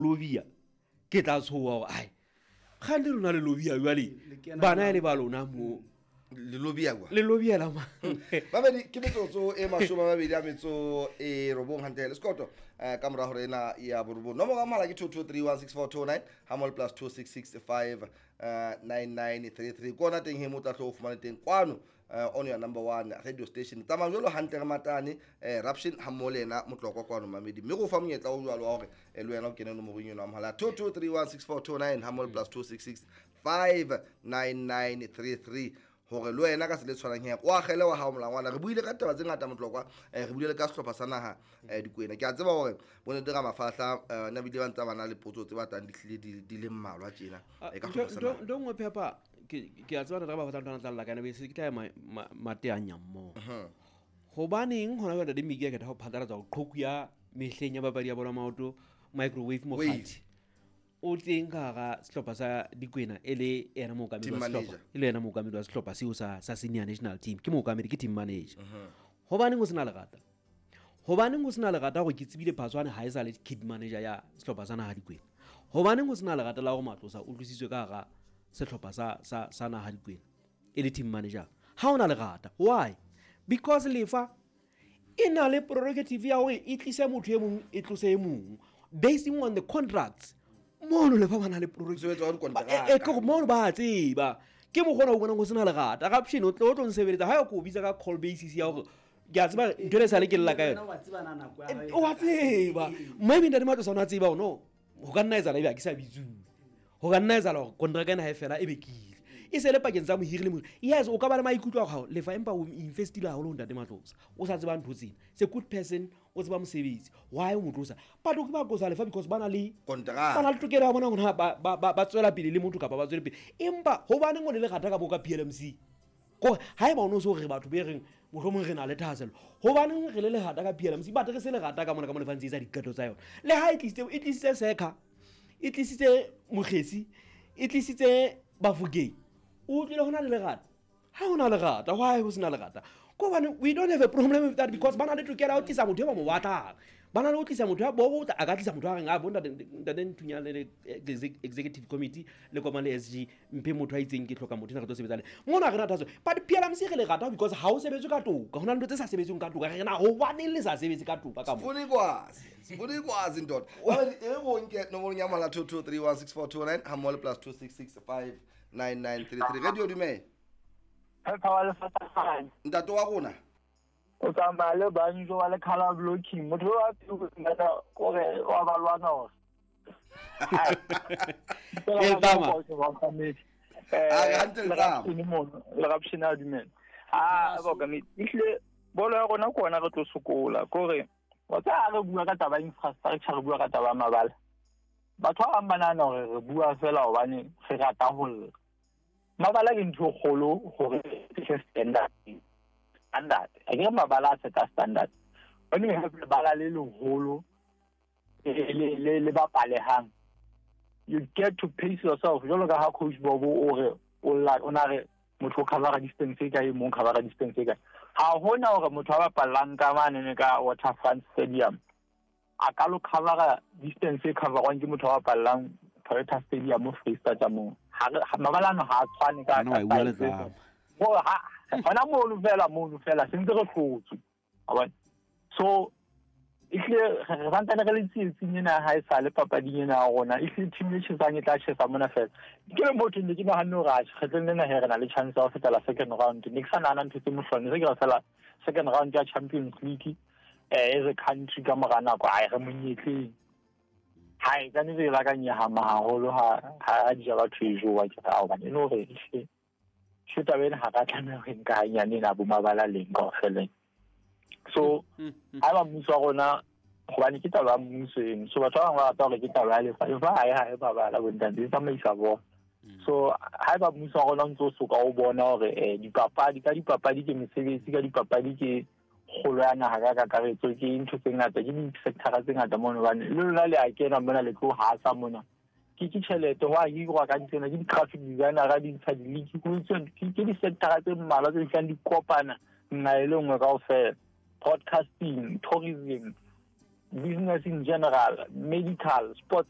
Lobia ke tla tshoha hore ai kgante lona le lobia jwale bana e le ba lona mo le lobia kwa le lobia la mang. Babedi ke metsotso e 22 a metso e 9 hantle le sekoto ka mora hore ena ya borobong. Nomoro ya mohala ke 22316429 ha mole plus 2665 9933. Kona teng he mo tla tlo o fumane teng kwano on your number one radio station. Tsamaya jwalo hantle re matane Raption ha mmoho le yena Motlokwa kwano mamedi. Mme go fa monyetla o jwalo wa hore le wena o kene nomorong eno ya mohala 22316429 ha mole plus 26659933 hore le wena ka se le tshwanang he o agele wa hao molangwana. Re buile ka taba tse ngata Motlokwa, re buile le ka sehlopha sa naha Dikwena. Ke a tseba hore bo ntate Ramafahla na bile ba ntse ba na le potso tse batlang di hlile di le mmalwa tjena ka sehlopha sa naha. Ntho nngwe Phepa, ke a tseba ntate Ramafahla ntho a tla lla ka yona, ke tla ya mateanya mmoho. Hobaneng hona jwale Ntate Miki a kgetha ho phatlalatsa hore qhoku ya mehleng ya papadi ya bolo ya maoto microwave mokgathi o teng ka hara sehlopha sa Dikwena e le yena mookamedi Team wa sehlopha, manager. e le yena mookamedi wa sehlopha seo sa senior national team, ke mookamedi, ke team manager. Hobaneng ho sena lerata? Hobaneng ho sena lerata hore ke tsebile Phatswane ha e sa le kid manager ya sehlopha sa naha Dikwena? Hobaneng ho sena lerata la hore Matlosa o tlositswe ka hara sehlopha sa naha Dikwena e le team manager? Ha hona lerata. Why? Because lefa e na le prerogative ya hore e tlise motho e mong, e tlose e mong, basing on the contracts. Mono lefa ba na le prerogative. Mosebetsi wa dikonteraka. Ke hore mono ba a tseba. Ke mokgwa ona o bonang ho sena lerata. Raption o tlo nsebeletsa ha o ko bitsa ka call basis ya hore ke a tseba ntho e sale ke lla ka yona. Wena wa tseba na nako ya hao e O a kae? tseba. Maybe Ntate Matlosa o na tseba hore no, ho ka nna etsahala ebe ha ke sa bitsuwe. Ho ka nna etsahala hore kontraka ena ha e fela ebe ke ile. E se le pakeng tsa mohiri le mohiri. Yes, o ka ba le maikutlo a hao lefa empa o investile haholo ho Ntate Matlosa. O sa tseba ntho tsena. It's a good person, o tseba mosebetsi. Why o mo tlosa? But o ke ba qosa lefa because ba na le Kontraka. Ba na le tokelo ya bona hore na ba tswela pele le motho kapa ba tswele pele. Empa hobaneng o le lerata ka bo ka PLMC? Kore haeba o no so re batho be reng mohlomong re na le thahasello, hobaneng re le lerata ka PLMC? But re se lerata ka mona ka mo lefa ntse e etsa diqeto tsa yona. Le ha e tlisitse, e tlisitse Sekha, e tlisitse Mokgesi, e tlisitse Bafokeng. O utlwile ho na le lerata? Ha ho na lerata, why ho sena lerata? Ke hobane we don't have a problem with that because ba na le tokelo ya ho tlisa motho e ba mo batlang. Ba na le ho tlisa motho ya bo a ka tlisa motho a reng, a bo ntate Nthunya le executive committee le kopana le SG, mphe motho a itseng ke hloka motho ena re tlo sebetsa le. Mona re na thatso. But PLMC re le rata because ha o sebetswe ka toka. Ho na le ntho tse sa sebetsweng ka toka. Re na hobaneng le sa sebetse ka toka ka mo? Sifuna ikwazi. Sifuna ikwazi ndoda. Wena e re nke nomoro ya mohala 22316429 ha mmoho le plus 26659933. Radio dumela. Phepa wa lefatshe. Ntate wa rona. O tsamaya le banjo wa le color blocking. Motho wa pele o kore wa ba lwana hore. E tama. A re hantle le tama. Le Raption a dumela. Ah, ba ka me. Ehlile bolo ya rona ke ona re tlo sokola. Kore wa tsa re bua ka taba ya infrastructure, re bua ka taba ya mabala. Batho ba bang ba nahana hore re bua fela hobane re rata ho lla. Mabala ke ntho e kgolo hore ke standard. Standard. A ke mabala a seta standard. When you have lebala le leholo le bapalehang, you get to pace yourself. Jwalo ka ha coach Bobo o re o lla, o na re motho o cover distance e kae, mong cover distance e kae. Ha hona hore motho a bapallang ka mane ne ka Waterfront Stadium a ka lo cover distance e coverwang ke motho a bapallang Toyota Stadium mo Freistata moo. Ha re, ha, mabala ano ha a tshwane ka Nna wa e bua size. letsapa. Mo, ha, hona mono fela, mono fela, se ntse re hlotswe. Wa bona? So, ehlile re santsane re le tsietsing ena ha e sale papading ena ya rona. Ehlile team e tjhesang e tla tjhesa mona fela. Ke le motho ne ke nahanne hore atjhe, kgetlong lena he re na le chance ya ho fetela second round. Ne ke sa nahana ntho tse mohlolo. Ne se ke re fela second round ya Champions League, as a country ka mora nako, ai, re monyetleng. Hai, ka nnete ke la ka nyahama haholo ha di ja batho e jowa ke re, ao, hobane e le hore ehlile, ehlile taba ena ha ra tlameha hore nka hanyane ena bo mabala leng kaofela. So, haeba mmuso wa rona, hobane ke taba ya mmuso eno, so batho ba bang ba rata hore ke taba ya lefa, lefa ha e ha e mabala bo ntate, e tsamaisa bona. So, haeba mmuso wa rona o ntso soka o bona hore, dipapadi, ka dipapadi ke mesebetsi, ka dipapadi ke kgolo ya naha ka kakaretso, ke ntho tse ngata, ke di-sector tse ngata mono, hobane le lona le a kena mona, le tlo hasa mona. Ke tjhelete, ho a hirwa ka ntsena, ke di-graphic designer, di ntsha di-leak, ho ntse, ke di-sector tse mmalwa tse fihlang di kopana nna e le nngwe kaofela. Broadcasting, tourism, Business in general, medical, sports.